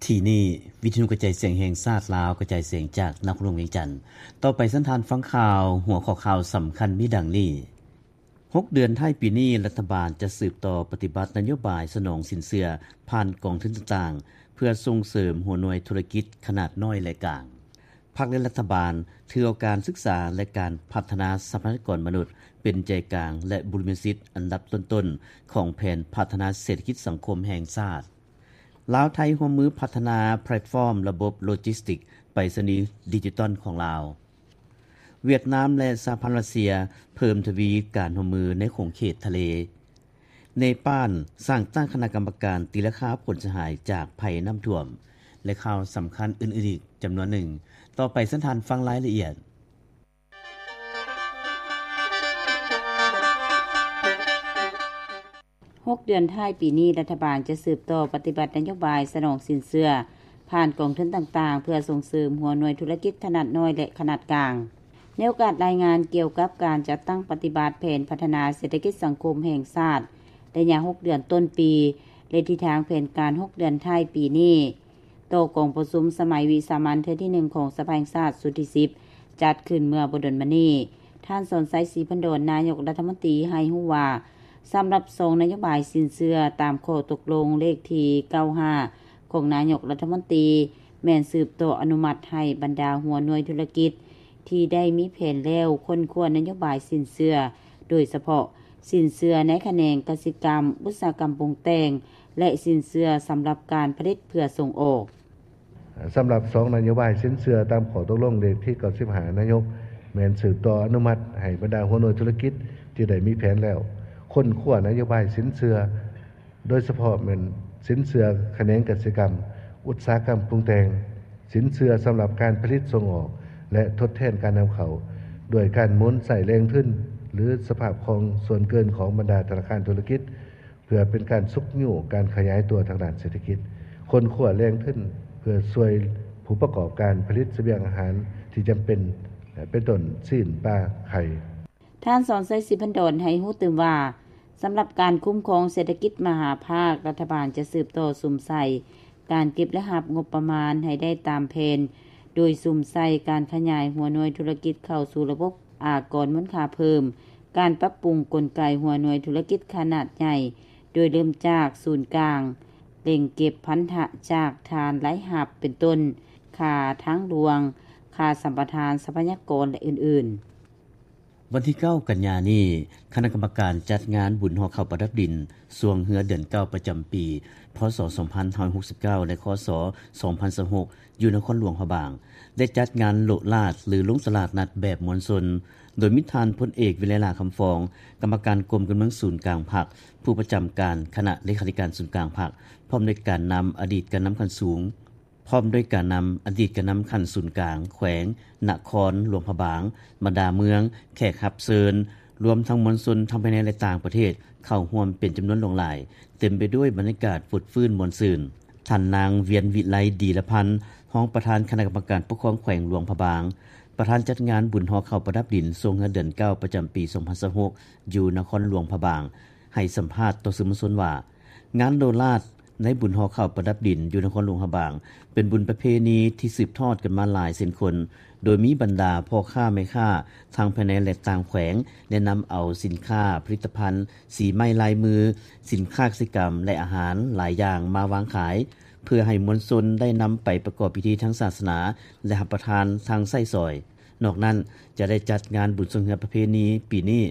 ທີ່ນີ້ ວິທະຍຸກະຈາຍສຽງແຫ່ງຊາດລາວ ກະຈາຍສຽງຈາກນະຄອນຫຼວງວຽງຈັນ. ຕໍ່ໄປເຊີນທ່ານຟັງຂ່າວ, ຫົວຂໍ້ຂ່າວສຳຄັນມີດັ່ງນີ້: ຫົກເດືອນທ້າຍປີນີ້, ລັດຖະບານຈະສືບຕໍ່ປະຕິບັດນະໂຍບາຍສະໜອງສິນເຊື່ອຜ່ານກອງທຶນຕ່າງໆ ເພື່ອສົ່ງເສີມຫົວໜ່ວຍທຸລະກິດຂະໜາດນ້ອຍ ແລະ ກາງ. ພັກ ແລະ ລັດຖະບານຖືເອົາການສຶກສາ ແລະ ການພັດທະນາຊັບພະຍາກອນມະນຸດ ເປັນໃຈກາງ ແລະ ບູລິມະສິດອັນດັບຕົ້ນໆ ຂອງແຜນພັດທະນາເສດຖະກິດສັງຄົມແຫ່ງຊາດ. ລາວ-ໄທຮ່ວມມືພັດທະນາແພລດຟອມລະບົບໂລຈິສຕິກໄປສະນີດິຈິຕອນຂອງລາວ. ຫວຽດນາມ ແລະ ສະຫະພັນຣັດເຊຍ ເພີ່ມທະວີການຮ່ວມມືໃນຂົງເຂດທະເລ. ເນປານ ສ້າງຕັ້ງຄະນະກຳມະການຕີລາຄາຜົນເສຍຫາຍຈາກໄພນ້ຳຖ້ວມ ແລະ ຂ່າວສຳຄັນອື່ນໆອີກຈຳນວນໜຶ່ງ. ຕໍ່ໄປເຊີນທ່ານຟັງລາຍລະອຽດ. ຫົກເດືອນທ້າຍປີນີ້, ລັດຖະບານຈະສືບຕໍ່ປະຕິບັດນະໂຍບາຍສະໜອງສິນເຊື່ອຜ່ານກອງທຶນຕ່າງໆ ເພື່ອສົ່ງເສີມຫົວໜ່ວຍທຸລະກິດຂະໜາດນ້ອຍ ແລະ ຂະໜາດກາງ. ໃນໂອກາດລາຍງານກ່ຽວກັບການຈັດຕັ້ງປະຕິບັດແຜນພັດທະນາເສດຖະກິດສັງຄົມແຫ່ງຊາດ ໄລຍະຫົກເດືອນຕົ້ນປີ ແລະ ທິດທາງແຜນການຫົກເດືອນທ້າຍປີນີ້ ຕໍ່ກອງປະຊຸມສະໄໝວິສາມັນເທື່ອທີໜຶ່ງຂອງສະພາແຫ່ງຊາດຊຸດທີສິບ ຈັດຂຶ້ນເມື່ອບໍ່ດົນມານີ້, ທ່ານ ສອນໄຊ ສີພັນດອນ ນາຍົກລັດຖະມົນຕີ ໃຫ້ຮູ້ວ່າ ສຳລັບສອງນະໂຍບາຍສິນເຊື່ອຕາມຂໍ້ຕົກລົງເລກທີເກົ້າຫ້າ ຂອງນາຍົກລັດຖະມົນຕີ ແມ່ນສືບຕໍ່ອະນຸມັດໃຫ້ບັນດາຫົວໜ່ວຍທຸລະກິດທີ່ໄດ້ມີແຜນແລ້ວ ຄົ້ນຄວ້ານະໂຍບາຍສິນເຊື່ອ, ໂດຍສະເພາະສິນເຊື່ອໃນຂະແໜງກະສິກຳ, ອຸດສາຫະກຳປຸງແຕ່ງ ແລະ ສິນເຊື່ອສຳລັບການຜະລິດເພື່ອສົ່ງອອກ. ສຳລັບສອງນະໂຍບາຍສິນເຊື່ອຕາມຂໍ້ຕົກລົງເລກທີເກົ້າສິບຫ້າ ນາຍົກແມ່ນສືບຕໍ່ອະນຸມັດໃຫ້ບັນດາຫົວໜ່ວຍທຸລະກິດທີ່ໄດ້ມີແຜນແລ້ວ ຄົ້ນຄວ້ານະໂຍບາຍສິນເຊື່ອ, ໂດຍສະເພາະແມ່ນສິນເຊື່ອຂະແໜງກະສິກຳ, ອຸດສາຫະກຳປຸງແຕ່ງ, ສິນເຊື່ອສຳລັບການຜະລິດສົ່ງອອກ ແລະ ທົດແທນການນຳເຂົ້າ ດ້ວຍການໝູນໃຊ້ແຫຼ່ງທຶນ ຫຼື ສະພາບຄ່ອງສ່ວນເກີນຂອງບັນດາທະນາຄານທຸລະກິດ ເພື່ອເປັນການຊຸກຍູ້ການຂະຫຍາຍຕົວທາງດ້ານເສດຖະກິດ, ຄົ້ນຄວ້າແຫຼ່ງທຶນເພື່ອຊ່ວຍຜູ້ປະກອບການຜະລິດສະບຽງອາຫານທີ່ຈຳເປັນ ເປັນຕົ້ນ ຊີ້ນ, ປາ, ໄຂ່. ທ່ານ ສອນໄຊ ສີພັນດອນ ໃຫ້ຮູ້ຕື່ມວ່າ ສຳລັບການຄຸ້ມຄອງເສດຖະກິດມະຫາພາກ, ລັດຖະບານຈະສືບຕໍ່ສຸມໃສ່ການເກັບລາຍຮັບງົບປະມານໃຫ້ໄດ້ຕາມແຜນ, ໂດຍສຸມໃສ່ການຂະຫຍາຍຫົວໜ່ວຍທຸລະກິດເຂົ້າສູ່ລະບົບອາກອນມູນຄ່າເພີ່ມ, ການປັບປຸງກົນໄກຫົວໜ່ວຍທຸລະກິດຂະໜາດໃຫຍ່, ໂດຍເລີ່ມຈາກສູນກາງ, ເລັ່ງເກັບພັນທະຈາກຖານລາຍຮັບ ເປັນຕົ້ນ ຄ່າທາງຫຼວງ, ຄ່າສຳປະທານຊັບພະຍາກອນ ແລະ ອື່ນໆ. ວັນທີເກົ້າ ກັນຍານີ້, ຄະນະກຳມະການຈັດງານບຸນຫໍ່ເຂົ້າປະດັບດິນຊ່ວງເຮືອເດືອນເກົ້າປະຈຳປີ ພ.ສ. ສອງພັນຫ້າຮ້ອຍຫົກສິບເກົ້າ ແລະ ຄ.ສ. ສອງພັນຊາວຫົກ ຢູ່ນະຄອນຫຼວງພະບາງ ໄດ້ຈັດງານໂລດລາດ ຫຼື ລົງຕະຫຼາດນັດແບບມວນຊົນ, ໂດຍມີທ່ານ ພົນເອກ ວິໄລຫຼ້າ ຄຳຟອງ ກຳມະການກົມການເມືອງສູນກາງພັກ, ຜູ້ປະຈຳການຄະນະເລຂາທິການສູນກາງພັກ, ພ້ອມດ້ວຍການນຳອະດີດການນຳຂັ້ນສູງ, ພ້ອມດ້ວຍການນຳອະດີດການນຳຂັ້ນສູນກາງແຂວງ, ນະຄອນຫຼວງພະບາງ, ບັນດາເມືອງ, ແຂກຮັບເຊີນ, ລວມທັງມວນຊົນທັງພາຍໃນ ແລະ ຕ່າງປະເທດ ເຂົ້າຮ່ວມເປັນຈຳນວນຫຼວງຫຼາຍ, ເຕັມໄປດ້ວຍບັນຍາກາດຟົດຟື້ນມ່ວນຊື່ນ. ທ່ານນາງ ວຽນວິໄລ ດີລະພັນ ຮອງປະທານຄະນະກຳມະການປົກຄອງແຂວງຫຼວງພະບາງ, ປະທານຈັດງານບຸນຫໍ່ເຂົ້າປະດັບດິນຊ່ວງເຮືອເດືອນເກົ້າປະຈຳປີສອງພັນຊາວຫົກ ຢູ່ນະຄອນຫຼວງພະບາງ ໃຫ້ສຳພາດຕໍ່ສື່ມວນຊົນວ່າ, ງານໂລດລາດໃນບຸນຫໍ່ເຂົ້າປະດັບດິນຢູ່ນະຄອນຫຼວງພະບາງ ເປັນບຸນປະເພນີທີ່ສືບທອດກັນມາຫຼາຍເຊັ່ນຄົນ, ໂດຍມີບັນດາພໍ່ຄ້າແມ່ຄ້າທັງພາຍໃນ ແລະ ຕ່າງແຂວງ ໄດ້ນຳເອົາສິນຄ້າ, ຜະລິດຕະພັນ, ສີໄມ້ລາຍມື, ສິນຄ້າກະສິກຳ ແລະ ອາຫານຫຼາຍຢ່າງມາວາງຂາຍ, ເພື່ອໃຫ້ມວນຊົນໄດ້ນຳໄປປະກອບພິທີທາງສາສະໜາ ແລະ ຮັບປະທານທາງໃຊ້ສອຍ. ນອກນັ້ນ, ຈະໄດ້ຈັດງານບຸນຊ່ວງເຮືອປະເພນີປີນີ້,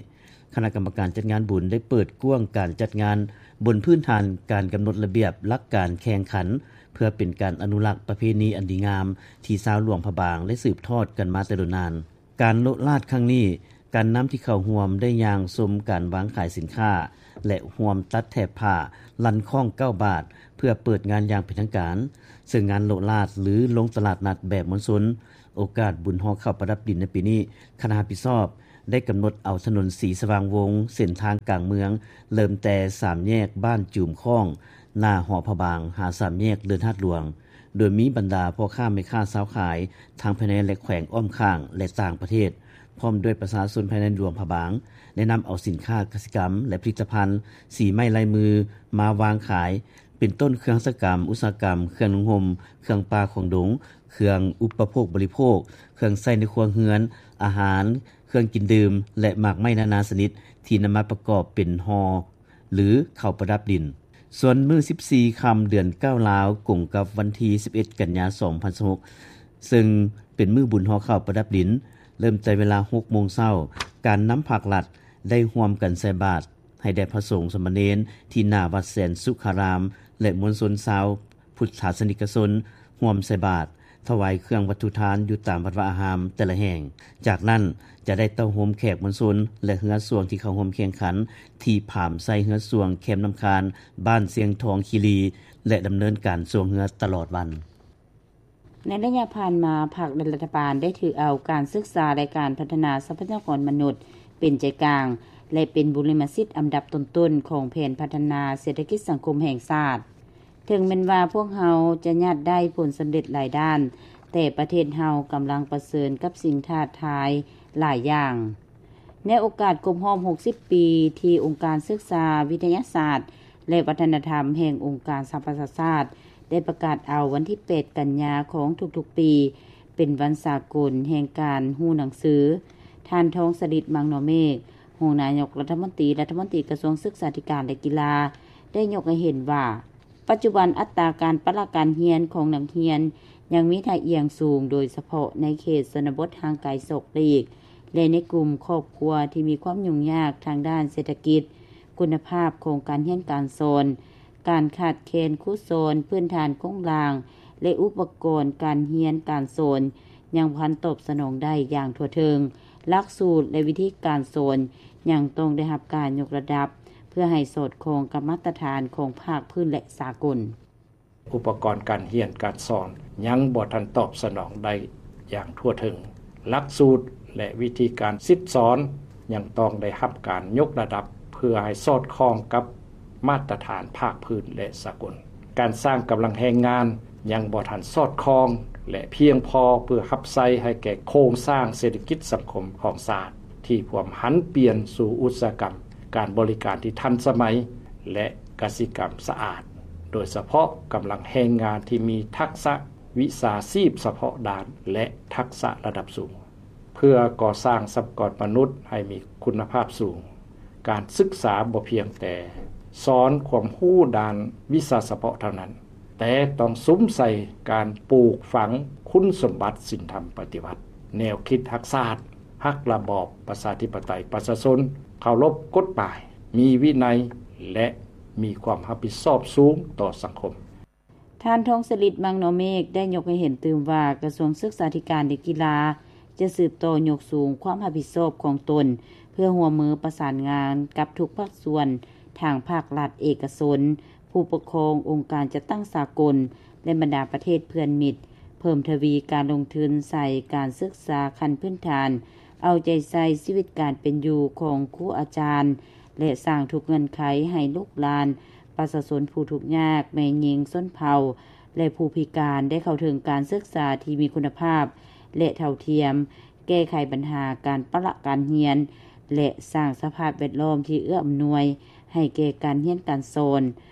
ຄະນະກຳມະການຈັດງານບຸນໄດ້ເປີດກວ້າງການຈັດງານບົນພື້ນຖານການກຳນົດລະບຽບຫຼັກການແຂ່ງຂັນ, ເພື່ອເປັນການອະນຸລັກປະເພນີອັນດີງາມທີ່ຊາວຫຼວງພະບາງໄດ້ສືບທອດກັນມາແຕ່ດົນນານ. ການໂລດລາດຄັ້ງນີ້, ການນຳທີ່ເຂົ້າຮ່ວມໄດ້ຍ່າງຊົມການວາງຂາຍສິນຄ້າ ແລະ ຮ່ວມຕັດແຖບຜ້າ, ລັນຄ້ອງເກົ້າບາດ ເພື່ອເປີດງານຢ່າງເປັນທາງການ, ເຊິ່ງງານໂລດລາດ ຫຼື ລົງຕະຫຼາດນັດແບບມວນຊົນ ໂອກາດບຸນຫໍ່ເຂົ້າປະດັບດິນໃນປີນີ້, ຄະນະຮັບຜິດຊອບໄດ້ກຳນົດເອົາຖະໜົນສີສະຫວ່າງວົງ ເສັ້ນທາງກາງເມືອງ ເລີ່ມແຕ່ສາມແຍກບ້ານຈູມຄ້ອງ ໜ້າຫໍພະບາງ ຫາສາມແຍກເລີນທາດຫຼວງ, ໂດຍມີບັນດາພໍ່ຄ້າແມ່ຄ້າຊາວຂາຍ ທັງພາຍໃນ ແລະ ແຂວງອ້ອມຂ້າງ ແລະ ຕ່າງປະເທດ, ພ້ອມດ້ວຍປະຊາຊົນພາຍໃນຫຼວງພະບາງ ໄດ້ນຳເອົາສິນຄ້າກະສິກຳ ແລະ ຜະລິດຕະພັນສີໄມ້ລາຍມືມາວາງຂາຍ, ເປັນຕົ້ນເຄື່ອງຫັດຖະກຳ, ອຸດສາຫະກຳ, ເຄື່ອງນຸ່ງຫົ່ມ, ເຄື່ອງປ່າຂອງດົງ, ເຄື່ອງອຸປະໂພກບໍລິໂພກ, ເຄື່ອງໃຊ້ໃນຄົວເຮືອນ, ອາຫານ, ເຄື່ອງກິນດື່ມ ແລະ ໝາກໄມ້ນານາຊະນິດ ທີ່ນຳມາປະກອບເປັນຫໍ່ ຫຼື ເຂົ້າປະດັບດິນ. ສ່ວນມື້ສິບສີ່ຄ່ຳເດືອນເກົ້າລາວ ກົງກັບວັນທີສິບເອັດ ກັນຍາ ສອງພັນຊາວຫົກ ເຊິ່ງເປັນມື້ບຸນຫໍ່ເຂົ້າປະດັບດິນ, ເລີ່ມແຕ່ເວລາຫົກໂມງເຊົ້າ, ການນຳພາກລັດໄດ້ຮ່ວມກັນໃສ່ບາດໃຫ້ແດ່ພະສົງສາມະເນນ ທີ່ໜ້າວັດແສນສຸຂາຣາມ ແລະ ມວນຊົນຊາວພຸດທະສາສະນິກະຊົນ ຮ່ວມໃສ່ບາດ ຖວາຍເຄື່ອງວັດຖຸທານຢູ່ຕາມວັດວາອາຮາມແຕ່ລະແຫ່ງ. ຈາກນັ້ນຈະໄດ້ເຕົ້າໂຮມແຂກມວນຊົນ ແລະ ເຮືອຊ່ວງທີ່ເຂົ້າຮ່ວມແຂ່ງຂັນ ທີ່ພາມໃສ່ເຮືອຊ່ວງແຄມນ້ຳຄານ ບ້ານຊຽງທອງຄີລີ ແລະ ດຳເນີນການຊ່ວງເຮືອຕະຫຼອດວັນ. ໃນໄລຍະຜ່ານມາ, ພັກ ແລະ ລັດຖະບານໄດ້ຖືເອົາການສຶກສາ ແລະ ການພັດທະນາຊັບພະຍາກອນມະນຸດເປັນໃຈກາງ ແລະ ເປັນບູລິມະສິດອັນດັບຕົ້ນໆຂອງແຜນພັດທະນາເສດຖະກິດສັງຄົມແຫ່ງຊາດ. ເຖິງແມ່ນວ່າພວກເຮົາຈະຍາດໄດ້ຜົນສຳເລັດຫຼາຍດ້ານ, ແຕ່ປະເທດເຮົາກຳລັງປະເຊີນກັບສິ່ງທ້າທາຍຫຼາຍຢ່າງ. ໃນໂອກາດຄົບຮອບຫົກສິບປີ ທີ່ອົງການສຶກສາ, ວິທະຍາສາດ ແລະ ວັດທະນະທຳແຫ່ງອົງການສະຫະປະຊາຊາດ ໄດ້ປະກາດເອົາວັນທີແປດ ກັນຍາຂອງທຸກໆປີ ເປັນວັນສາກົນແຫ່ງການຮູ້ໜັງສື, ທ່ານ ທອງສະລິດ ມັງນໍເມກ, ຮອງນາຍົກລັດຖະມົນຕີ, ລັດຖະມົນຕີກະຊວງສຶກສາທິການ ແລະ ກິລາ ໄດ້ຍົກໃຫ້ເຫັນວ່າ ປັດຈຸບັນອັດຕາການປະລະການຮຽນຂອງນັກຮຽນຍັງມີທ່າອ່ຽງສູງ, ໂດຍສະເພາະໃນເຂດຊົນນະບົດຫ່າງໄກສອກຫຼີກ ແລະ ໃນກຸ່ມຄອບຄົວທີ່ມີຄວາມຫຍຸ້ງຍາກທາງດ້ານເສດຖະກິດ, ຄຸນນະພາບຂອງການຮຽນການສອນ, ການຂາດແຄນຄູສອນ, ພື້ນຖານໂຄງລ່າງ ແລະ ອຸປະກອນການຮຽນການສອນ ຍັງບໍ່ທັນຕອບສະໜອງໄດ້ຢ່າງທົ່ວເຖິງ, ຫຼັກສູດ ແລະ ວິທີການສອນຍັງຕ້ອງໄດ້ຮັບການຍົກລະດັບ ເພື່ອໃຫ້ສອດຄ່ອງກັບມາດຕະຖານຂອງພາກພື້ນ ແລະ ສາກົນ. ອຸປະກອນການຮຽນການສອນຍັງບໍ່ທັນຕອບສະໜອງໄດ້ຢ່າງທົ່ວເຖິງ, ຫຼັກສູດ ແລະ ວິທີການສິດສອນຍັງຕ້ອງໄດ້ຮັບການຍົກລະດັບ ເພື່ອໃຫ້ສອດຄ່ອງກັບມາດຕະຖານພາກພື້ນ ແລະ ສາກົນ. ການສ້າງກຳລັງແຮງງານຍັງບໍ່ທັນສອດຄ່ອງ ແລະ ພຽງພໍເພື່ອຮັບໃຊ້ໃຫ້ແກ່ໂຄງສ້າງເສດຖະກິດສັງຄົມຂອງຊາດ ທີ່ພວມຫັນປ່ຽນສູ່ອຸດສາຫະກຳການບໍລິການທີ່ທັນສະໄໝ ແລະ ກະສິກຳສະອາດ, ໂດຍສະເພາະກຳລັງແຮງງານທີ່ມີທັກສະວິຊາຊີບສະເພາະດ້ານ ແລະ ທັກສະລະດັບສູງ. ເພື່ອກໍ່ສ້າງຊັບພະຍາກອນມະນຸດໃຫ້ມີຄຸນນະພາບສູງ, ການສຶກສາບໍ່ພຽງແຕ່ສອນຄວາມຮູ້ດ້ານວິຊາສະເພາະເທົ່ານັ້ນ, ແຕ່ຕ້ອງສຸມໃສ່ການປູກຝັງຄຸນສົມບັດສິນທຳປະຕິວັດ, ແນວຄິດຮັກຊາດ, ຮັກລະບອບປະຊາທິປະໄຕປະຊາຊົນ, ເຄົາລົບກົດໝາຍ, ມີວິໄນ ແລະ ມີຄວາມຮັບຜິດຊອບສູງຕໍ່ສັງຄົມ. ທ່ານ ທອງສະລິດ ມັງນໍເມກ ໄດ້ຍົກໃຫ້ເຫັນຕື່ມວ່າ ກະຊວງສຶກສາທິການ ແລະ ກິລາ ຈະສືບຕໍ່ຍົກສູງຄວາມຮັບຜິດຊອບຂອງຕົນ ເພື່ອຮ່ວມມືປະສານງານກັບທຸກພາກສ່ວນ ທັງພາກລັດ, ເອກະຊົນ, ຜູ້ປົກຄອງ, ອົງການຈັດຕັ້ງສາກົນ ແລະ ບັນດາປະເທດເພື່ອນມິດ ເພີ່ມທະວີການລົງທຶນໃສ່ການສຶກສາຂັ້ນພື້ນຖານ, ເອົາໃຈໃສ່ຊີວິດການເປັນຢູ່ຂອງຄູອາຈານ ແລະ ສ້າງທຸກເງື່ອນໄຂໃຫ້ລູກຫຼານ ປະຊາຊົນຜູ້ທຸກຍາກ, ແມ່ຍິງ, ຊົນເຜົ່າ ແລະ ຜູ້ພິການ ໄດ້ເຂົ້າເຖິງການສຶກສາທີ່ມີຄຸນນະພາບ ແລະ ເທົ່າທຽມ, ແກ້ໄຂບັນຫາການປະລະການຮຽນ ແລະ ສ້າງສະພາບແວດລ້ອມທີ່ເອື້ອອຳນວຍໃຫ້ແກ່ການຮຽນການສອນ,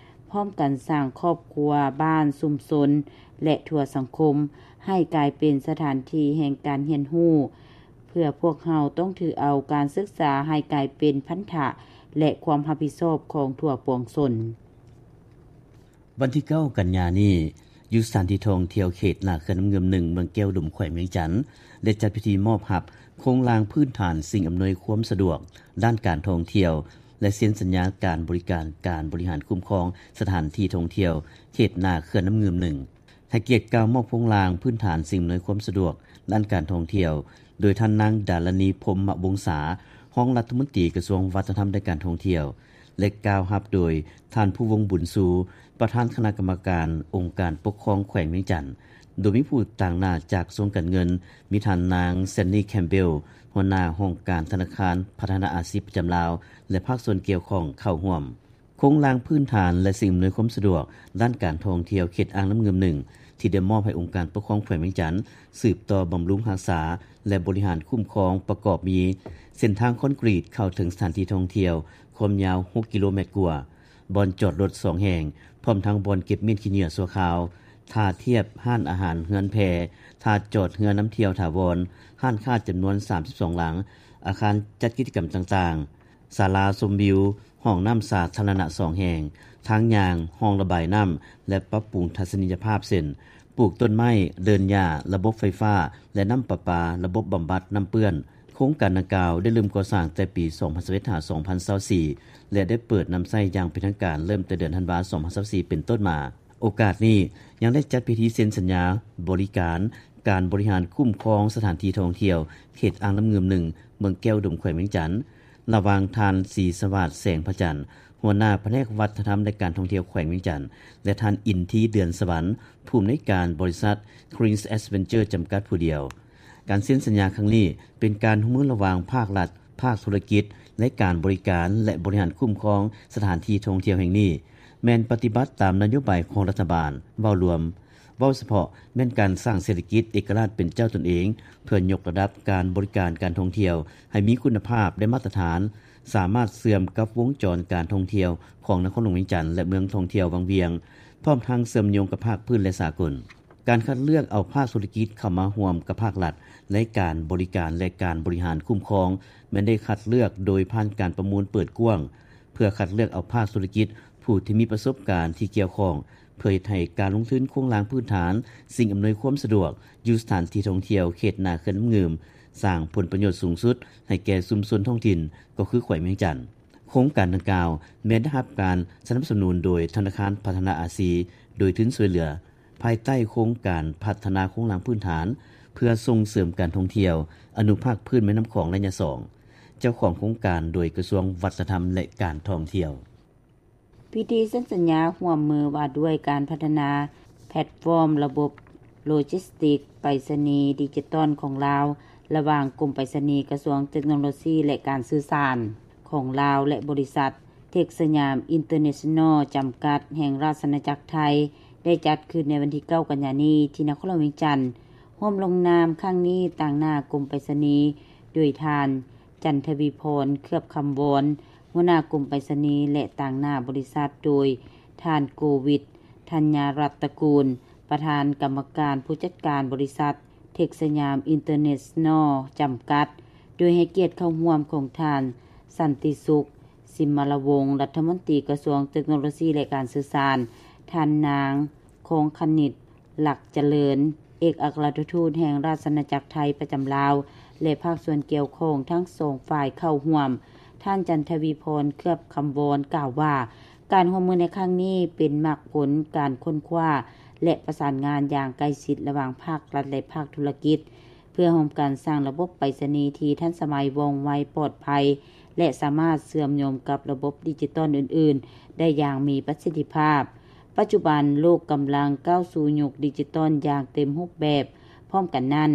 ພ້ອມກັນສ້າງຄອບຄົວ, ບ້ານ, ຊຸມຊົນ ແລະ ທົ່ວສັງຄົມ ໃຫ້ກາຍເປັນສະຖານທີ່ແຫ່ງການຮຽນຮູ້, ເພື່ອພວກເຮົາຕ້ອງຖືເອົາການສຶກສາໃຫ້ກາຍເປັນພັນທະ ແລະ ຄວາມຮັບຜິດຊອບຂອງທົ່ວປວງຊົນ. ວັນທີເກົ້າ ກັນຍານີ້, ຢູ່ສະຖານທີ່ທ່ອງທ່ຽວເຂດໜ້າເຂື່ອນນ້ຳງື່ມໜຶ່ງ ເມືອງແກ້ວອຸດົມ ແຂວງວຽງຈັນ ໄດ້ຈັດພິທີມອບຮັບໂຄງລ່າງພື້ນຖານສິ່ງອຳນວຍຄວາມສະດວກດ້ານການທ່ອງທ່ຽວ ແລະ ເຊັນສັນຍາການບໍລິການການບໍລິຫານຄຸ້ມຄອງສະຖານທີ່ທ່ອງທ່ຽວເຂດໜ້າເຂື່ອນນ້ຳງື່ມໜຶ່ງ. ໃຫ້ກຽດກ່າວມອບໂຄງລ່າງພື້ນຖານສິ່ງອຳນວຍຄວາມສະດວກດ້ານການທ່ອງທ່ຽວ ໂດຍທ່ານນາງ ດາລະນີ ພົມມະວົງສາ, ຮອງລັດຖະມົນຕີກະຊວງວັດທະນະທຳ ແລະ ການທ່ອງທ່ຽວ ແລະ ກ່າວຮັບໂດຍທ່ານ ພູວົງ ບຸນຊູ, ປະທານຄະນະກຳມະການອົງການປົກຄອງແຂວງວຽງຈັນ, ໂດຍມີຜູ້ຕາງໜ້າຈາກກະຊວງການເງິນ, ມີທ່ານນາງ ແຊນນີ ແຄມເບວ, ຫົວໜ້າຫ້ອງການທະນາຄານພັດທະນາອາຊີບປະຈຳລາວ ແລະ ພາກສ່ວນກ່ຽວຂ້ອງເຂົ້າຮ່ວມ. ໂຄງລ່າງພື້ນຖານ ແລະ ສິ່ງອຳນວຍຄວາມສະດວກດ້ານການທ່ອງທ່ຽວເຂດອ່າງນ້ຳງື່ມໜຶ່ງ ທີ່ໄດ້ມອບໃຫ້ອົງການປົກຄອງແຂວງວຽງຈັນ ສືບຕໍ່ບຳລຸງຮັກສາ ແລະ ບໍລິຫານຄຸ້ມຄອງ ປະກອບມີ ເສັ້ນທາງຄອນກຣີດເຂົ້າເຖິງສະຖານທີ່ທ່ອງທ່ຽວ ຄວາມຍາວຫົກກິໂລແມັດກວ່າ, ບ່ອນຈອດລົດສອງແຫ່ງ, ໂພ ພ້ອມທັງບ່ອນເກັບມ້ຽນຂີ້ເຫຍື້ອຊົ່ວຄາວ, ທ່າທຽບຮ້ານອາຫານ, ເຮືອນແພ, ທ່າຈອດເຮືອນຳທ່ຽວຖາວອນ, ຮ້ານຄ້າຈຳນວນສາມສິບສອງຫຼັງ, ອາຄານຈັດກິດຈະກຳຕ່າງໆ, ສາລາຊົມວິວ, ຫ້ອງນ້ຳສາທາລະນະສອງແຫ່ງ, ທາງຍ່າງ, ຮ່ອງລະບາຍນ້ຳ ແລະ ປັບປຸງທັດສະນີຍະພາບ ເຊັ່ນ ປູກຕົ້ນໄມ້, ເດີ່ນຫຍ້າ, ລະບົບໄຟຟ້າ ແລະ ນ້ຳປະປາ, ລະບົບບຳບັດນ້ຳເປື້ອນ. ໂຄງການດັ່ງກ່າວໄດ້ເລີ່ມກໍ່ສ້າງແຕ່ປີສອງພັນຊາວເອັດ ຫາ ສອງພັນຊາວສີ່ ແລະ ໄດ້ເປີດນຳໃຊ້ຢ່າງເປັນທາງການເລີ່ມແຕ່ເດືອນທັນວາ ສອງພັນຊາວສີ່ ເປັນຕົ້ນມາ. ໂອກາດນີ້ຍັງໄດ້ຈັດພິທີເຊັນສັນຍາບໍລິການການບໍລິຫານຄຸ້ມຄອງສະຖານທີ່ທ່ອງທ່ຽວເຂດອ່າງນ້ຳງື່ມໜຶ່ງ ເມືອງແກ້ວອຸດົມ ແຂວງວຽງຈັນ ລະຫວ່າງທ່ານ ສີສະຫວາດ ແສງພະຈັນ ຫົວໜ້າພະແນກວັດທະນະທຳ ແລະ ການທ່ອງທ່ຽວແຂວງວຽງຈັນ ແລະ ທ່ານ ອິນທີ ເດືອນສະຫວັນ ຜູ້ອຳນວຍການບໍລິສັດ Green Adventure ຈຳກັດຜູ້ດຽວ. ການເຊັນສັນຍາຄັ້ງນີ້ ເປັນການຮ່ວມມືລະຫວ່າງພາກລັດ, ພາກທຸລະກິດ ໃນການບໍລິການ ແລະ ບໍລິຫານຄຸ້ມຄອງສະຖານທີ່ທ່ອງທ່ຽວແຫ່ງນີ້ ແມ່ນປະຕິບັດຕາມນະໂຍບາຍຂອງລັດຖະບານ. ເວົ້າລວມ, ເວົ້າສະເພາະ ແມ່ນການສ້າງເສດຖະກິດເອກະລາດເປັນເຈົ້າຕົນເອງ ເພື່ອຍົກລະດັບການບໍລິການການທ່ອງທ່ຽວໃຫ້ມີຄຸນນະພາບ ແລະ ມາດຕະຖານ, ສາມາດເຊື່ອມກັບວົງຈອນການທ່ອງທ່ຽວຂອງນະຄອນຫຼວງວຽງຈັນ ແລະ ເມືອງທ່ອງທ່ຽວວັງວຽງ, ພ້ອມທັງເຊື່ອມໂຍງກັບພາກພື້ນ ແລະ ສາກົນ. ການຄັດເລືອກເອົາພາກທຸລະກິດເຂົ້າມາຮ່ວມກັບພາກລັດໃນການບໍລິການ ແລະ ການບໍລິຫານຄຸ້ມຄອງ ແມ່ນໄດ້ຄັດເລືອກໂດຍຜ່ານການປະມູນເປີດກວ້າງ ເພື່ອຄັດເລືອກເອົາພາກທຸລະກິດຜູ້ທີ່ມີປະສົບການທີ່ກ່ຽວຂ້ອງ ເພື່ອເຮັດໃຫ້ການລົງທຶນໂຄງລ່າງພື້ນຖານ, ສິ່ງອຳນວຍຄວາມສະດວກຢູ່ສະຖານທີ່ທ່ອງທ່ຽວເຂດໜ້າເຂື່ອນນ້ຳງື່ມ ສ້າງຜົນປະໂຫຍດສູງສຸດໃຫ້ແກ່ຊຸມຊົນທ້ອງຖິ່ນ ກໍຄືແຂວງວຽງຈັນ. ໂຄງການດັ່ງກ່າວແມ່ນໄດ້ຮັບການສະໜັບສະໜູນໂດຍທະນາຄານພັດທະນາອາຊີ ໂດຍທຶນຊ່ວຍເຫຼືອ ພາຍໃຕ້ໂຄງການພັດທະນາໂຄງລ່າງພື້ນຖານ ເພື່ອສົ່ງເສີມການທ່ອງທ່ຽວອະນຸພາກພື້ນແມ່ນ້ຳຂອງໄລຍະສອງ ເຈົ້າຂອງໂຄງການໂດຍກະຊວງວັດທະນະທຳ ແລະ ການທ່ອງທ່ຽວ. ພິທີເຊັນສັນຍາຮ່ວມມືວ່າດ້ວຍການພັດທະນາແພລດຟອມລະບົບໂລຈິສຕິກໄປສະນີດິຈິຕອນຂອງລາວ ລະຫວ່າງກົມໄປສະນີ, ກະຊວງເຕັກໂນໂລຊີ ແລະ ການສື່ສານຂອງລາວ ແລະ ບໍລິສັດ ເທັກສະຍາມ ອິນເຕີເນຊັນນໍ ຈຳກັດ ແຫ່ງລາຊະອານາຈັກໄທ ໄດ້ຈັດຂຶ້ນໃນວັນທີເກົ້າ ກັນຍານີ້ ທີ່ນະຄອນຫຼວງວຽງຈັນ, ຮ່ວມລົງນາມຄັ້ງນີ້ຕາງໜ້າກົມໄປສະນີໂດຍທ່ານ ຈັນທະວີພອນ ເຄືອບຄຳວອນ ຫົວໜ້າກົມໄປສະນີ ແລະ ຕາງໜ້າບໍລິສັດໂດຍທ່ານ ໂກວິດ ທັນຍາລັດຕະກູນ ປະທານກຳມະການຜູ້ຈັດການບໍລິສັດ ເທັກສະຍາມ ອິນເຕີເນຊັນນໍ ຈຳກັດ, ໂດຍໃຫ້ກຽດເຂົ້າຮ່ວມຂອງທ່ານ ສັນຕິສຸກ ສິມມະລະວົງ ລັດຖະມົນຕີກະຊວງເຕັກໂນໂລຊີ ແລະ ການສື່ສານ, ທ່ານນາງ ຄອງຄະນິດ ຫຼັກຈະເລີນ ເອກອັກຄະລັດຖະທູດແຫ່ງລາຊະອານາຈັກໄທປະຈຳລາວ ແລະ ພາກສ່ວນກ່ຽວຂ້ອງທັງສອງຝ່າຍເຂົ້າຮ່ວມ. ທ່ານ ຈັນທະວີພອນ ເຄືອບຄຳວອນ ກ່າວວ່າ ການຮ່ວມມືໃນຄັ້ງນີ້ເປັນໝາກຜົນການຄົ້ນຄວ້າ ແລະ ປະສານງານຢ່າງໃກ້ຊິດລະຫວ່າງພາກລັດ ແລະ ພາກທຸລະກິດ ເພື່ອຮ່ວມກັນສ້າງລະບົບໄປສະນີທີ່ທັນສະໄໝ, ວ່ອງໄວ, ປອດໄພ ແລະ ສາມາດເຊື່ອມໂຍງກັບລະບົບດິຈິຕອນອື່ນໆໄດ້ຢ່າງມີປະສິດທິພາບ. ປັດຈຸບັນໂລກກຳລັງກ້າວສູ່ຍຸກດິຈິຕອນຢ່າງເຕັມຮູບແບບ. ພ້ອມກັນນັ້ນ,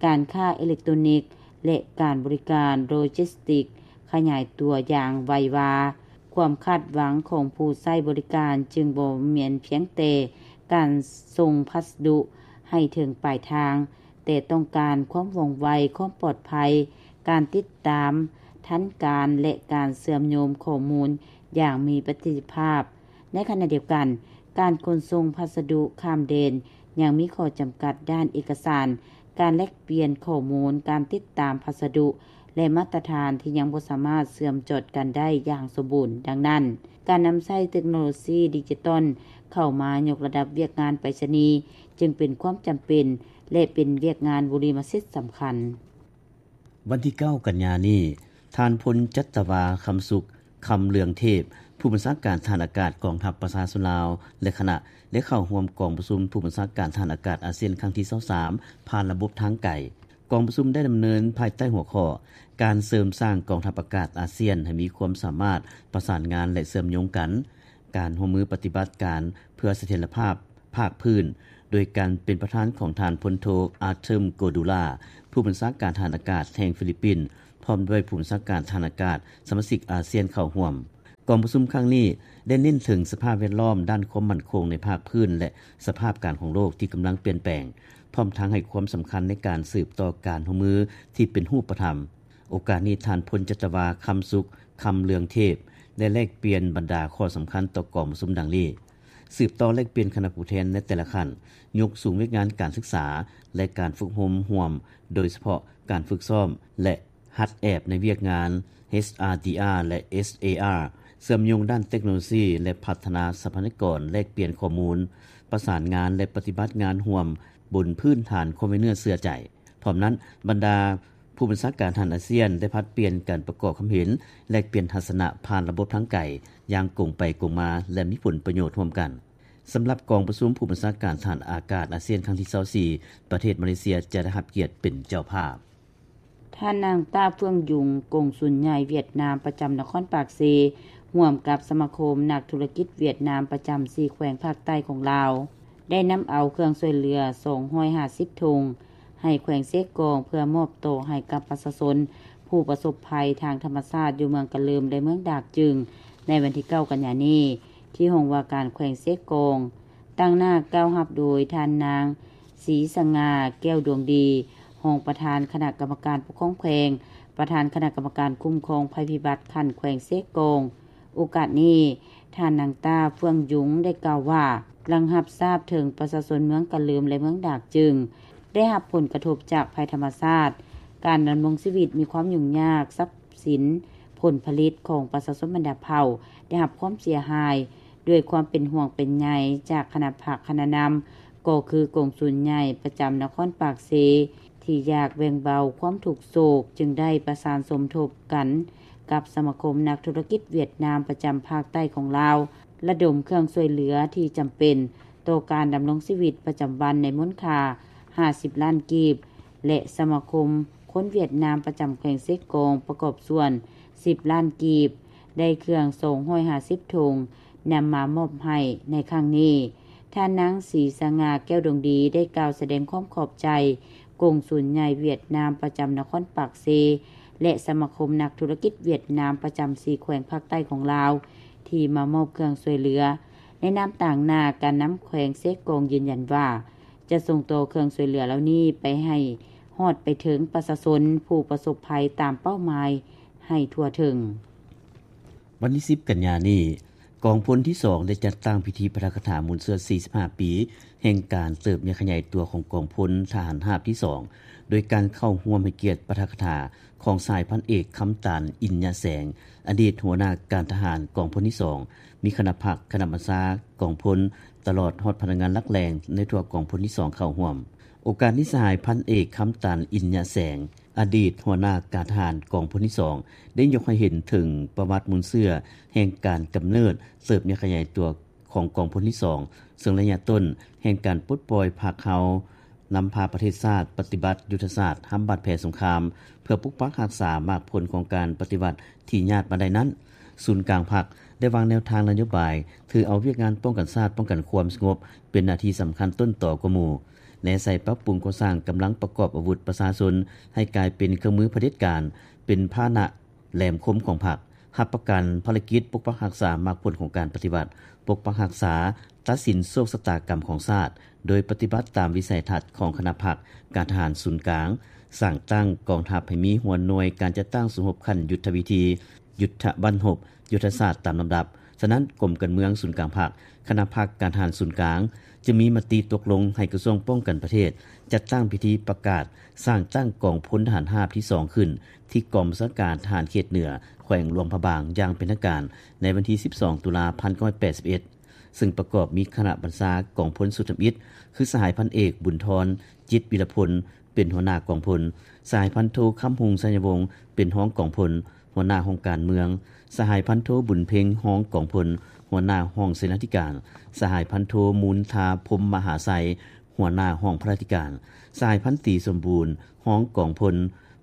ການຄ້າເອເລັກໂຕຣນິກ ແລະ ການບໍລິການໂລຈິສຕິກຂະຫຍາຍຕົວຢ່າງໄວວາ. ຄວາມຄາດຫວັງຂອງຜູ້ໃຊ້ບໍລິການຈຶ່ງບໍ່ແມ່ນພຽງແຕ່ການສົ່ງພັດສະດຸໃຫ້ເຖິງປາຍທາງ, ແຕ່ຕ້ອງການຄວາມວ່ອງໄວ, ຄວາມປອດໄພ, ການຕິດຕາມທັນການ ແລະ ການເຊື່ອມໂຍງຂໍ້ມູນຢ່າງມີປະສິດທິພາບ. ໃນຂະນະດຽວກັນ, ການຂົນສົ່ງພັດສະດຸຂ້າມແດນຍັງມີຂໍ້ຈຳກັດດ້ານເອກະສານ, ການແລກປ່ຽນຂໍ້ມູນ, ການຕິດຕາມພັດສະດຸ ແລະ ມາດຕະຖານທີ່ຍັງບໍ່ສາມາດເຊື່ອມຈອດກັນໄດ້ຢ່າງສົມບູນ. ດັ່ງນັ້ນ, ການນຳໃຊ້ເຕັກໂນໂລຊີດິຈິຕອນເຂົ້າມາຍົກລະດັບວຽກງານໄປສະນີ ຈຶ່ງເປັນຄວາມຈຳເປັນ ແລະ ເປັນວຽກງານບຸລິມະສິດສຳຄັນ. ວັນທີເກົ້າ ກັນຍານີ້, ທ່ານ ພົນຈັດຕະວາ ຄຳສຸກ ຄຳເລືອງເທບ ຜູ້ບັນຊາການທະຫານອາກາດກອງທັບປະຊາຊົນລາວ ແລະ ຄະນະ ໄດ້ເຂົ້າຮ່ວມກອງປະຊຸມຜູ້ບັນຊາການທະຫານອາກາດອາຊຽນຄັ້ງທີຊາວສາມ ຜ່ານລະບົບທາງໄກ. ກອງປະຊຸມໄດ້ດຳເນີນພາຍໃຕ້ຫົວຂໍ້ ການເສີມສ້າງກອງທັບອາກາດອາຊຽນໃຫ້ມີຄວາມສາມາດປະສານງານ ແລະ ເຊື່ອມໂຍງກັນ, ການຮ່ວມມືປະຕິບັດການເພື່ອສະຖຽນລະພາບ ພາກພື້ນ ໂດຍການເປັນປະທານຂອງທ່ານ ພົນໂທ ອາເທີມ ໂກດູລາ ຜູ້ບັນຊາການທະຫານອາກາດແຫ່ງຟີລິບປິນ ພ້ອມດ້ວຍຜູ້ບັນຊາການທະຫານອາກາດສະມາຊິກອາຊຽນເຂົ້າຮ່ວມ. ກອງປະຊຸມຄັ້ງນີ້ໄດ້ເນັ້ນເຖິງສະພາບແວດລ້ອມ, ດ້ານຄວາມໝັ້ນຄົງໃນພາກພື້ນ ແລະ ສະພາບການຂອງໂລກທີ່ກຳລັງປ່ຽນແປງ, ພ້ອມທັງໃຫ້ຄວາມສຳຄັນໃນການສືບຕໍ່ການຮ່ວມມືທີ່ເປັນຮູບປະທຳ. ໂອກາດນີ້, ທ່ານ ພົນຈັດຕະວາ ຄຳສຸກ ຄຳເລືອງເທບ ໄດ້ແລກປ່ຽນບັນດາຂໍ້ສຳຄັນຕໍ່ກອງປະຊຸມດັ່ງນີ້. ສືບຕໍ່ແລກປ່ຽນຄະນະຜູ້ແທນໃນແຕ່ລະຂັ້ນ, ຍົກສູງວຽກງານການສຶກສາ ແລະ ການຝຶກຮົມຮ່ວມ, ໂດຍສະເພາະການຝຶກຊ້ອມ ແລະ ຫັດແອບໃນວຽກງານ ເອສອາດີອາ ແລະ ເອສເອອາ ເຊື່ອມໂຍງດ້ານເຕັກໂນໂລຊີ ແລະ ພັດທະນາຊັບພະຍາກອນ, ແລກປ່ຽນຂໍ້ມູນ, ປະສານງານ ແລະ ປະຕິບັດງານຮ່ວມບົນພື້ນຖານຄວາມໄວ້ເນື້ອເຊື່ອໃຈ. ພ້ອມນັ້ນ, ບັນດາຜູ້ບັນຊາການທະຫານອາຊຽນໄດ້ຜັດປ່ຽນກັນປະກອບຄຳເຫັນ, ແລກປ່ຽນທັດສະນະຜ່ານລະບົບທາງໄກຢ່າງກົງໄປກົງມາ ແລະ ມີຜົນປະໂຫຍດຮ່ວມກັນ. ສຳລັບກອງປະຊຸມຜູ້ບັນຊາການທະຫານອາກາດອາຊຽນຄັ້ງທີຊາວສີ່ ປະເທດມາເລເຊຍຈະໄດ້ຮັບກຽດເປັນເຈົ້າພາບ. ທ່ານນາງ ຕ້າ ເຟືອງຍຸງ ກົງສຸນໃຫຍ່ຫວຽດນາມປະຈຳນະຄອນປາກເຊ ຮ່ວມກັບສະມາຄົມນັກທຸລະກິດຫວຽດນາມປະຈຳສີ່ແຂວງພາກໃຕ້ຂອງລາວ ໄດ້ນຳເອົາເຄື່ອງຊ່ວຍເຫຼືອສອງຮ້ອຍຫ້າສິບຖົງ ໃຫ້ແຂວງເຊກອງ ເພື່ອມອບຕໍ່ໃຫ້ກັບປະຊາຊົນຜູ້ປະສົບໄພທາງທຳມະຊາດຢູ່ເມືອງກະເລີມ ແລະ ເມືອງດາກຈຶງ ໃນວັນທີເກົ້າກັນຍານີ້ ທີ່ຫ້ອງວ່າການແຂວງເຊກອງ. ຕາງໜ້າກ່າວຮັບໂດຍທ່ານນາງ ສີສະຫງ່າ ແກ້ວດວງດີ ຮອງປະທານຄະນະກຳມະການປົກຄອງແຂວງ, ປະທານຄະນະກຳມະການຄຸ້ມຄອງໄພພິບັດຂັ້ນແຂວງເຊກອງ. ໂອກາດນີ້, ທ່ານນາງ ຕ້າ ເຟືອງຍຸງ ໄດ້ກ່າວວ່າ ຫຼັງຮັບຊາບເຖິງປະຊາຊົນເມືອງກະເລີມ ແລະ ເມືອງດາກຈຶງ ໄດ້ຮັບຜົນກະທົບຈາກໄພທຳມະຊາດ, ການດຳລົງຊີວິດມີຄວາມຫຍຸ້ງຍາກ, ຊັບສິນ, ຜົນຜະລິດຂອງປະຊາຊົນບັນດາເຜົ່າ ໄດ້ຮັບຄວາມເສຍຫາຍ. ດ້ວຍຄວາມເປັນຫ່ວງເປັນໃຍຈາກຄະນະພັກຄະນະນຳ ກໍຄືກົງສຸນໃຫຍ່ປະຈຳນະຄອນປາກເຊ ທີ່ຢາກແບ່ງເບົາຄວາມທຸກໂສກ ຈຶ່ງໄດ້ປະສານສົມທົບກັນກັບສະມາຄົມນັກທຸລະກິດຫວຽດນາມປະຈຳພາກໃຕ້ຂອງລາວ ລະດົມເຄື່ອງຊ່ວຍເຫຼືອທີ່ຈຳເປັນຕໍ່ການດຳລົງຊີວິດປະຈຳວັນໃນມູນຄ່າຫ້າສິບລ້ານກີບ ແລະ ສະມາຄົມຄົນຫວຽດນາມປະຈຳແຂວງເຊກອງປະກອບສ່ວນສິບລ້ານກີບ ໄດ້ເຄື່ອງສອງຮ້ອຍຫ້າສິບຖົງ ນຳມາມອບໃຫ້ໃນຄັ້ງນີ້. ທ່ານນາງ ສີສະຫງ່າ ແກ້ວດວງດີ ໄດ້ກ່າວສະແດງຄວາມຂອບໃຈກົງສຸນໃຫຍ່ຫວຽດນາມປະຈຳນະຄອນປາກເຊ ແລະ ສະມາຄົມນັກທຸລະກິດຫວຽດນາມປະຈຳສີ່ແຂວງພາກໃຕ້ຂອງລາວ ທີ່ມາມອບເຄື່ອງຊ່ວຍເຫຼືອ. ໃນນາມຕາງໜ້າການນຳແຂວງເຊກອງຢືນຢັນວ່າ ຈະສົ່ງຕໍ່ເຄື່ອງຊ່ວຍເຫຼືອເຫຼົ່ານີ້ໄປໃຫ້ຮອດໄປເຖິງປະຊາຊົນຜູ້ປະສົບໄພຕາມເປົ້າໝາຍໃຫ້ທົ່ວເຖິງ. ວັນທີສິບກັນຍານີ້, ກອງພົນທີສອງ ໄດ້ຈັດຕັ້ງພິທີປາຖະກະຖາມູນເຊື້ອສີ່ສິບຫ້າປີແຫ່ງການເຕີບໃຫຍ່ຂະຫຍາຍຕົວຂອງກອງພົນທະຫານຮາບທີສອງ ໂດຍການເຂົ້າຮ່ວມໃຫ້ກຽດປາຖະກະຖາຂອງສະຫາຍພັນເອກ ຄຳຕານ ອິນຍະແສງ ອະດີດຫົວໜ້າການທະຫານກອງພົນທີສອງ, ມີຄະນະພັກ, ຄະນະບັນຊາກອງພົນ, ຕະຫຼອດຮອດພະນັກງານຫຼັກແຫຼ່ງໃນທົ່ວກອງພົນທີສອງເຂົ້າຮ່ວມ. ໂອກາດນີ້ ສະຫາຍພັນເອກ ຄຳຕານ ອິນຍະແສງ ອະດີດຫົວໜ້າການທະຫານກອງພົນທີສອງ ໄດ້ຍົກໃຫ້ເຫັນເຖິງປະຫວັດມູນເຊື້ອແຫ່ງການກຳເນີດເຕີບໃຫຍ່ຂະຫຍາຍຕົວຂອງກອງພົນທີສອງ ເຊິ່ງໄລຍະຕົ້ນແຫ່ງການປົດປ່ອຍພັກເຮົາ ນຳພາປະເທດຊາດປະຕິບັດຍຸດທະສາດຫ້າມບາດແຜສົງຄາມ ເພື່ອປົກປັກຮັກສາໝາກຜົນຂອງການປະຕິວັດທີ່ຍາດມາໄດ້ນັ້ນ, ສູນກາງພັກໄດ້ວາງແນວທາງນະໂຍບາຍ ຖືເອົາວຽກງານປ້ອງກັນຊາດ, ປ້ອງກັນຄວາມສະຫງົບ ເປັນໜ້າທີ່ສຳຄັນຕົ້ນຕໍກວ່າໝູ່ ແນໃສ່ປັບປຸງກໍ່ສ້າງກຳລັງປະກອບອາວຸດປະຊາຊົນ ໃຫ້ກາຍເປັນເຄື່ອງມືຜະເດັດການ, ເປັນພາຫະນະແຫຼມຄົມຂອງພັກ, ຮັບປະກັນພາລະກິດປົກປັກຮັກສາໝາກຜົນຂອງການປະຕິວັດ, ປົກປັກຮັກສາ, ຕັດສິນໂຊກຊະຕາກຳຂອງຊາດ ໂດຍປະຕິບັດຕາມວິໄສທັດຂອງຄະນະພັກການທະຫານສູນກາງ, ສ້າງຕັ້ງກອງທັບໃຫ້ມີຫົວໜ່ວຍການຈັດຕັ້ງສູ້ຮົບຂັ້ນຍຸດທະວິທີ, ຍຸດທະບັ້ນຮົບ, ຍຸດທະສາດຕາມລຳດັບ. ສະນັ້ນ, ກົມການເມືອງສູນກາງພັກ, ຄະນະພັກການທະຫານສູນກາງ ຈຶ່ງມີມະຕິຕົກລົງໃຫ້ກະຊວງປ້ອງກັນປະເທດ ຈັດຕັ້ງພິທີປະກາດສ້າງຕັ້ງກອງພົນທະຫານຮາບທີສອງຂຶ້ນ ທີ່ກອງບັນຊາການທະຫານເຂດເໜືອ ແຂວງຫຼວງພະບາງ ຢ່າງເປັນທາງການ ໃນວັນທີສິບສອງ ຕຸລາ ພັນເກົ້າຮ້ອຍແປດສິບເອັດ ເຊິ່ງປະກອບມີຄະນະບັນຊາກອງພົນຊຸດທຳອິດ ຄື ສະຫາຍພັນເອກ ບຸນທອນ ຈິດວິລະພົນ ເປັນຫົວໜ້າກອງພົນ, ສະຫາຍພັນໂທ ຄຳຮຸ່ງ ໄຊຍະວົງ ເປັນຮອງກອງພົນ, ຫົວໜ້າຫ້ອງການເມືອງ, ສະຫາຍພັນໂທ ບຸນເພັງ ຮອງກອງພົນ, ຫົວໜ້າຫ້ອງເສນາທິການ, ສະຫາຍພັນໂທ ມູນທາ ພົມມະຫາໄຊ ຫົວໜ້າຫ້ອງພະລາທິການ, ສະຫາຍພັນຕີ ສົມບູນ ຮອງກອງພົນ,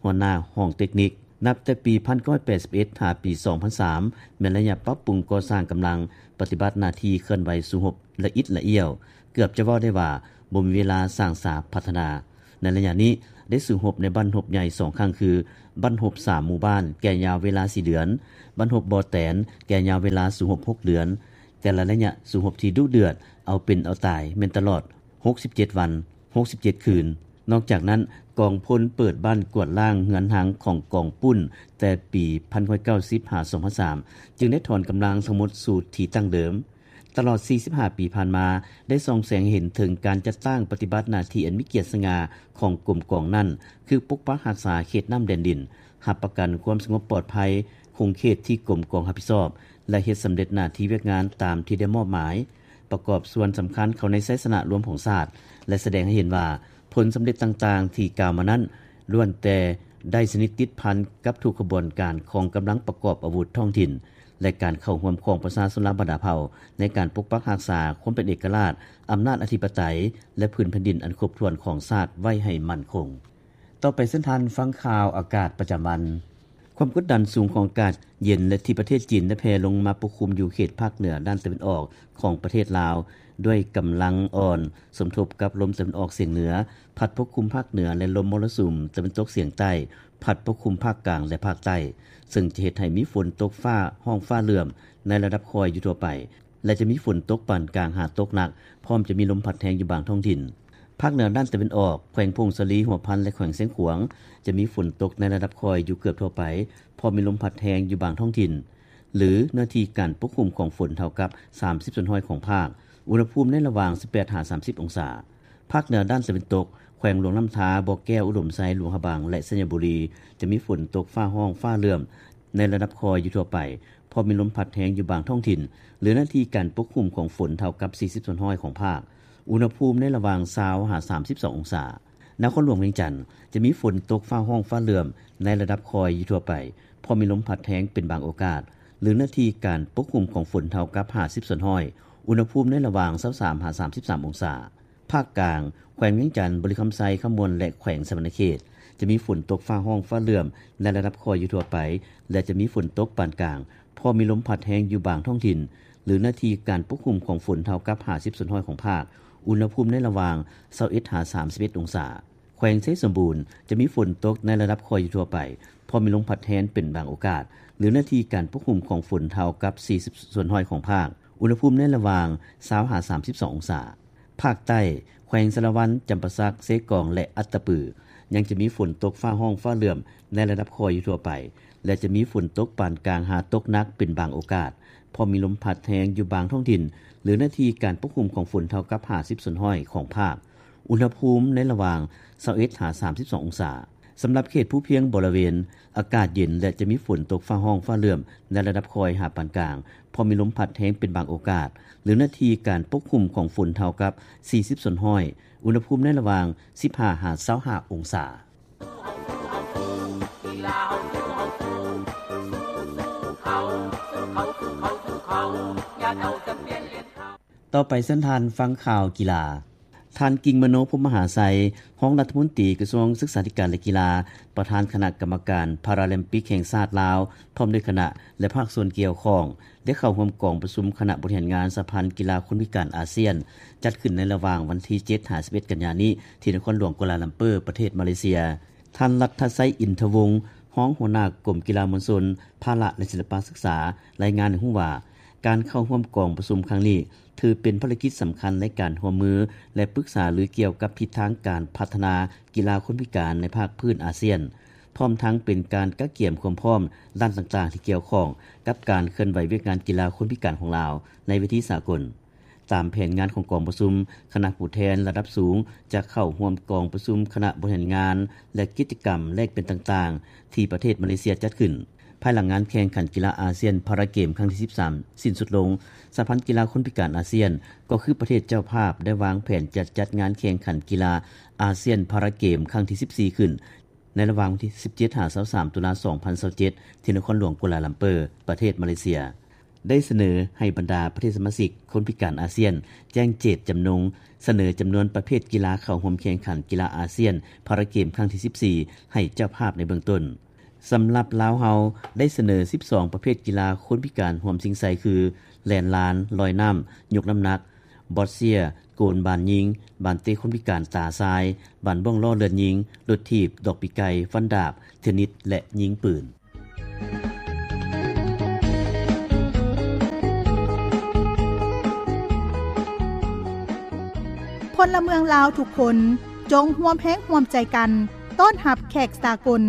ຫົວໜ້າຫ້ອງເຕັກນິກ. ນັບແຕ່ປີພັນເກົ້າຮ້ອຍແປດສິບເອັດ ຫາປີສອງພັນສາມ ແມ່ນໄລຍະປັບປຸງກໍ່ສ້າງກຳລັງປະຕິບັດໜ້າທີ່ເຄື່ອນໄຫວສູ້ຮົບລະອິດລະອ້ຽວ, ເກືອບຈະເວົ້າໄດ້ວ່າບໍ່ມີເວລາສ້າງສາພັດທະນາ. ໃນໄລຍະນີ້ ໄດ້ສູ້ຮົບໃນບັ້ນຮົບໃຫຍ່ສອງຄັ້ງ ຄື ບັ້ນຮົບສາມໝູ່ບ້ານ ແກ່ຍາວເວລາສີ່ເດືອນ, ບັ້ນຮົບບໍ່ແຕນ ແກ່ຍາວເວລາສູ້ຮົບຫົກເດືອນ. ແຕ່ລະໄລຍະສູ້ຮົບທີ່ດຸເດືອດ ເອົາເປັນເອົາຕາຍ ແມ່ນຕະຫຼອດຫົກສິບເຈັດວັນ, ຫົກສິບເຈັດຄືນ. ນອກຈາກນັ້ນ, ກອງພົນເປີດບ້ານກວາດລ້າງເຮືອນຮັງຂອງກອງປຸ້ນ ແຕ່ປີພັນເກົ້າຮ້ອຍເກົ້າສິບ ຫາ ສອງພັນສາມ ຈຶ່ງໄດ້ຖອນກຳລັງທັງໝົດສູ່ທີ່ຕັ້ງເດີມ. ຕະຫຼອດ ສີ່ສິບຫ້າ ປີຜ່ານມາ ໄດ້ສ່ອງແສງເຫັນເຖິງການຈັດຕັ້ງປະຕິບັດໜ້າທີ່ອັນມີກຽດສະຫງ່າຂອງກົມກອງນັ້ນ ຄືປົກປັກຮັກສາເຂດນ້ຳແດນດິນ, ຮັບປະກັນຄວາມສະຫງົບປອດໄພຂົງເຂດທີ່ກົມກອງຮັບຜິດຊອບ ແລະ ເຮັດສຳເລັດໜ້າທີ່ວຽກງານຕາມທີ່ໄດ້ມອບໝາຍ, ປະກອບສ່ວນສຳຄັນເຂົ້າໃນໄຊຊະນະລວມຂອງຊາດ ແລະ ສະແດງໃຫ້ເຫັນວ່າ ຜົນສຳເລັດຕ່າງໆທີ່ກ່າວມານັ້ນ ລ້ວນແຕ່ໄດ້ສະໜິດຕິດພັນກັບທຸກຂະບວນການຂອງກຳລັງປະກອບອາວຸດທ້ອງຖິ່ນ ແລະ ການເຂົ້າຮ່ວມຂອງປະຊາຊົນລາວບັນດາເຜົ່າ ໃນການປົກປັກຮັກສາຄວາມເປັນເອກະລາດ, ອຳນາດອະທິປະໄຕ ແລະ ພື້ນແຜ່ນດິນອັນຄົບຖ້ວນຂອງຊາດໄວ້ໃຫ້ໝັ້ນຄົງ. ຕໍ່ໄປເຊີນທ່ານຟັງຂ່າວອາກາດປະຈຳວັນ. ຄວາມກົດດັນສູງຂອງອາກາດເຢັນ ແລະ ທີ່ປະເທດຈີນໄດ້ແຜ່ລົງມາປົກຄຸມຢູ່ເຂດພາກເໜືອດ້ານຕາເວັນອອກຂອງປະເທດລາວ ດ້ວຍກຳລັງອ່ອນ ສົມທົບກັບລົມຕາເວັນອອກສຽງເໜືອ ພັດປົກຄຸມພາກເໜືອ ແລະ ລົມມໍລະສຸມຕາເວັນຕົກສຽງໃຕ້ ພັດປົກຄຸມພາກກາງ ແລະ ພາກໃຕ້, ເຊິ່ງຈະເຮັດໃຫ້ມີຝົນຕົກຟ້າຮ້ອງຟ້າເຫຼື້ອມໃນລະດັບຄ່ອຍຢູ່ທົ່ວໄປ ແລະ ຈະມີຝົນຕົກປານກາງຫາຕົກໜັກ, ພ້ອມຈະມີລົມພັດແຮງຢູ່ບາງທ້ອງຖິ່ນ. ພາກເໜືອດ້ານຕາເວັນອອກ, ແຂວງຜົ້ງສາລີ, ຫົວພັນ ແລະ ແຂວງຊຽງຂວາງ ຈະມີຝົນຕົກໃນລະດັບຄ່ອຍຢູ່ເກືອບທົ່ວໄປ, ພ້ອມມີລົມພັດແຮງຢູ່ບາງທ້ອງຖິ່ນ ຫຼື ເນື້ອທີ່ການປົກຄຸມຂອງຝົນເທົ່າກັບ ສາມສິບສ່ວນຮ້ອຍຂອງພາກ, ອຸນຫະພູມໃນລະຫວ່າງ ສິບແປດ ຫາ ສາມສິບ ອົງສາ. ພາກເໜືອດ້ານຕາເວັນຕົກ, ແຂວງຫຼວງນ້ຳທາ, ບໍ່ແກ້ວ, ອຸດົມໄຊ, ຫຼວງພະບາງ ແລະ ໄຊຍະບູລີ ຈະມີຝົນຕົກຟ້າຮ້ອງຟ້າເຫຼື້ອມໃນລະດັບຄ່ອຍຢູ່ທົ່ວໄປ, ພ້ອມມີລົມພັດແຮງຢູ່ບາງທ້ອງຖິ່ນ ຫຼື ເນື້ອທີ່ການປົກຄຸມຂອງຝົນເທົ່າກັບ ສີ່ສິບສ່ວນຮ້ອຍຂອງພາກ, ອຸນຫະພູມໃນລະຫວ່າງ ຊາວ ຫາ ສາມສິບສອງ ອົງສາ. ນະຄອນຫຼວງວຽງຈັນ ຈະມີຝົນຕົກຟ້າຮ້ອງຟ້າເຫຼື້ອມໃນລະດັບຄ່ອຍຢູ່ທົ່ວໄປ, ພ້ອມມີລົມພັດແຮງເປັນບາງໂອກາດ ຫຼື ເນື້ອທີ່ການປົກຄຸມຂອງຝົນເທົ່າກັບ ຫ້າສິບສ່ວນຮ້ອຍ, ອຸນຫະພູມໃນລະຫວ່າງ ຊາວສາມ ຫາ ສາມສິບສາມ ອົງສາ. ພາກກາງ, ແຂວງວຽງຈັນ, ບໍລິຄຳໄຊ, ຄຳມ່ວນ ແລະ ແຂວງສະຫວັນນະເຂດ ຈະມີຝົນຕົກຟ້າຮ້ອງຟ້າເຫຼື້ອມໃນລະດັບຄ່ອຍຢູ່ທົ່ວໄປ ແລະ ຈະມີຝົນຕົກປານກາງ, ພໍມີລົມພັດແຮງຢູ່ບາງທ້ອງຖິ່ນ ຫຼື ເນື້ອທີ່ການປົກຄຸມຂອງຝົນເທົ່າກັບ ຫ້າສິບສ່ວນຮ້ອຍຂອງພາກ, ອຸນຫະພູມໃນລະຫວ່າງ ຊາວເອັດ ຫາ ສາມສິບເອັດ ອົງສາ. ແຂວງໄຊສົມບູນ ຈະມີຝົນຕົກໃນລະດັບຄ່ອຍຢູ່ທົ່ວໄປ, ພໍມີລົມພັດແຮງເປັນບາງໂອກາດ ຫຼື ເນື້ອທີ່ການປົກຄຸມຂອງຝົນເທົ່າກັບ ສີ່ສິບສ່ວນຮ້ອຍຂອງພາກ, ອຸນຫະພູມໃນລະຫວ່າງ ຊາວ ຫາ ສາມສິບສອງ ອົງສາ. ພາກໃຕ້, ແຂວງສາລະວັນ, ຈຳປາສັກ, ເຊກອງ ແລະ ອັດຕະປື ຍັງຈະມີຝົນຕົກຟ້າຮ້ອງຟ້າເຫຼື້ອມໃນລະດັບຄ່ອຍຢູ່ທົ່ວໄປ ແລະ ຈະມີຝົນຕົກປານກາງຫາຕົກໜັກເປັນບາງໂອກາດ, ພໍມີລົມພັດແຮງຢູ່ບາງທ້ອງຖິ່ນ ຫຼື ເນື້ອທີ່ການປົກຄຸມຂອງຝົນເທົ່າກັບ ຫ້າສິບສ່ວນຮ້ອຍຂອງພາກ, ອຸນຫະພູມໃນລະຫວ່າງ ຊາວເອັດ ຫາ ສາມສິບສອງ ອົງສາ. ສຳລັບເຂດພູພຽງບໍລະເວນ ອາກາດເຢັນ ແລະ ຈະມີຝົນຕົກຟ້າຮ້ອງຟ້າເຫຼື້ອມໃນລະດັບຄ່ອຍຫາປານກາງ, ພໍມີລົມພັດແຮງເປັນບາງໂອກາດ ຫຼື ເນື້ອທີ່ການປົກຄຸມຂອງຝົນເທົ່າກັບ ສີ່ສິບສ່ວນຮ້ອຍ, ອຸນຫະພູມໃນລະຫວ່າງ ສິບຫ້າ ຫາ ຊາວຫ້າ ອົງສາ. ຕໍ່ໄປເຊີນທ່ານຟັງຂ່າວກິລາ. ທ່ານ ກິ່ງມະໂນ ພົມມະຫາໄຊ, ຮອງລັດຖະມົນຕີກະຊວງສຶກສາທິການ ແລະ ກິລາ, ປະທານຄະນະກຳມະການພາຣາລິມປິກແຫ່ງຊາດລາວ ພ້ອມດ້ວຍຄະນະ ແລະ ພາກສ່ວນກ່ຽວຂ້ອງ ໄດ້ເຂົ້າຮ່ວມກອງປະຊຸມຄະນະບໍລິຫານງານສະຫະພັນກິລາຄົນພິການອາຊຽນ ຈັດຂຶ້ນໃນລະຫວ່າງວັນທີ ເຈັດ ຫາ ສິບເອັດ ກັນຍານີ້ ທີ່ນະຄອນຫຼວງກົວລາລັມເປີ ປະເທດມາເລເຊຍ. ທ່ານ ລັດທະໄຊ ອິນທະວົງ ຮອງຫົວໜ້າກົມກິລາມວນຊົນ, ພາລະ ແລະ ສິລະປະສຶກສາ ລາຍງານໃຫ້ຮູ້ວ່າ ການເຂົ້າຮ່ວມກອງປະຊຸມຄັ້ງນີ້ ຖືເປັນພາລະກິດສຳຄັນໃນການຮ່ວມມື ແລະ ປຶກສາລືກ່ຽວກັບທິດທາງການພັດທະນາກິລາຄົນພິການໃນພາກພື້ນອາຊຽນ, ພ້ອມທັງເປັນການກະກຽມຄວາມພ້ອມດ້ານຕ່າງໆທີ່ກ່ຽວຂ້ອງກັບການເຄື່ອນໄຫວວຽກງານກິລາຄົນພິການຂອງລາວໃນເວທີສາກົນ. ຕາມແຜນງານຂອງກອງປະຊຸມ, ຄະນະຜູ້ແທນລະດັບສູງຈະເຂົ້າຮ່ວມກອງປະຊຸມຄະນະບໍລິຫານງານ ແລະ ກິດຈະກຳແລກປ່ຽນຕ່າງໆ ທີ່ປະເທດມາເລເຊຍຈັດຂຶ້ນ. ພາຍຫຼັງງານແຂ່ງຂັນກິລາອາຊຽນພາຣາເກມຄັ້ງທີ ສິບສາມ ສິ້ນສຸດລົງ, ສະຫະພັນກິລາຄົນພິການອາຊຽນ ກໍຄືປະເທດເຈົ້າພາບ ໄດ້ວາງແຜນຈະຈັດງານແຂ່ງຂັນກິລາອາຊຽນພາຣາເກມຄັ້ງທີ ສິບສີ່ ຂຶ້ນ ໃນລະຫວ່າງວັນທີ ສິບເຈັດ ຫາ ຊາວສາມ ຕຸລາ ສອງພັນຊາວເຈັດ ທີ່ນະຄອນຫຼວງກົວລາລັມເປີ ປະເທດມາເລເຊຍ. ໄດ້ສະເໜີໃຫ້ບັນດາປະເທດສະມາຊິກຄົນພິການອາຊຽນ ແຈ້ງເຈດຈຳນົງສະເໜີຈຳນວນປະເພດກິລາເຂົ້າຮ່ວມແຂ່ງຂັນກິລາອາຊຽນພາຣາເກມຄັ້ງທີ ສິບສີ່ ໃຫ້ເຈົ້າພາບໃນເບື້ອງຕົ້ນ. ສຳລັບລາວເຮົາໄດ້ສະເໜີ ສິບສອງ ປະເພດກິລາຄົນພິການຮ່ວມຊິງໄຊ ຄື ແລ່ນລານ, ລອຍນ້ຳ, ຍົກນ້ຳໜັກ, ບອດເຊຍ, ໂກນບານຍິງ, ບານເຕະຄົນພິການຕາຊາຍ, ບານບ້ອງລໍ້ເລືອດຍິງ, ລົດຖີບ, ດອກປີກໄກ່, ຟັນດາບ, ເທນນິດ ແລະ ຍິງປືນ. ພົນລະເມືອງລາວທຸກຄົນ ຈົ່ງຮ່ວມແຮງຮ່ວມໃຈກັນ ຕ້ອນຮັບແຂກສາກົນ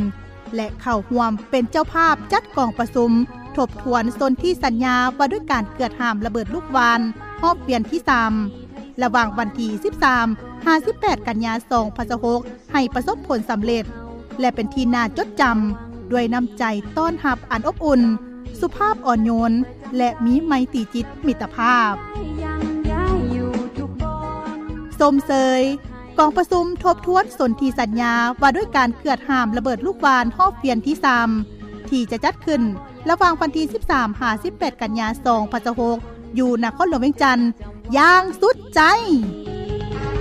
ແລະ ເຂົ້າຮ່ວມເປັນເຈົ້າພາບຈັດກອງປະຊຸມທົບທວນສົນທິສັນຍາວ່າດ້ວຍການເກືອດຫ້າມລະເບີດລູກຫວ່ານ ຮອບວຽນທີສາມ ລະຫວ່າງວັນທີສິບສາມ ຫາ ສິບແປດ ກັນຍາ ສອງພັນຊາວຫົກ ໃຫ້ປະສົບຜົນສຳເລັດ ແລະ ເປັນທີ່ໜ້າຈົດຈຳ ດ້ວຍນ້ຳໃຈຕ້ອນຮັບອັນອົບອຸ່ນ, ສຸພາບອ່ອນໂຍນ ແລະ ມີໄມຕີຈິດມິດຕະພາບ. ຊົມເຊີຍ ກອງປະຊຸມທົບທວນສົນທິສັນຍາວ່າດ້ວຍການເກືອດຫ້າມລະເບີດລູກຫວ່ານຮອບວຽນທີສາມ ທີ່ຈະຈັດຂຶ້ນລະຫວ່າງວັນທີສິບສາມ ຫາ ສິບແປດ ກັນຍາ ສອງພັນຊາວຫົກ ຢູ່ນະຄອນຫຼວງວຽງຈັນ ຢ່າງສຸດໃຈ.